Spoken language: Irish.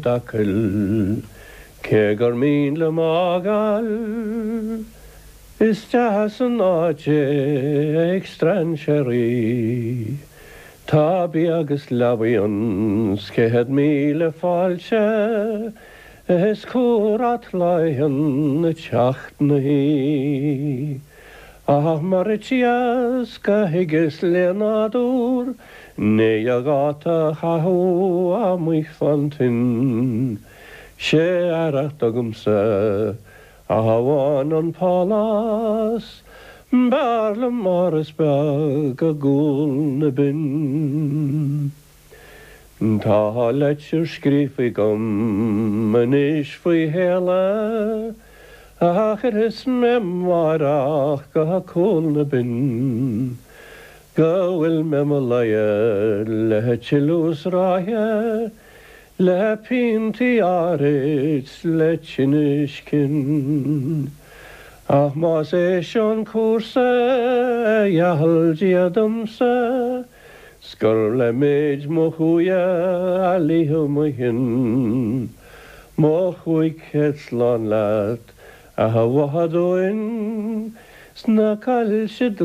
d'Acaill, cé gur mian liom a fhágáil. Is deas an áit é ag strainséirí. Tá bia agus leabaidh ann 's 100,000 fáilte is comhrá tláith ann ag teacht 'na thí. Ach mar is éasca a thuigeas le nádúr, ní a dháta a chaitheamh amuigh fán toinn. 'Sé aireacht agamsa ach amháin an pálás, b'fhearr liom áras beag i gcúl na binne. Tá leitir scríofa agam anois faoi shéala a chuirfeas mé amáireach go Cúl na Binne go bhfuil mé mo luighe le tuilleadh sraithe le piontaí áirid 's le tinnis cinn. Ach más é seo an cúrsa a gheall Dia domsa 's gur le méid mo chumhaidhe a luífidh mo chionn, mo 500 slán leat, a Bhotha Dúin, 's na coillte.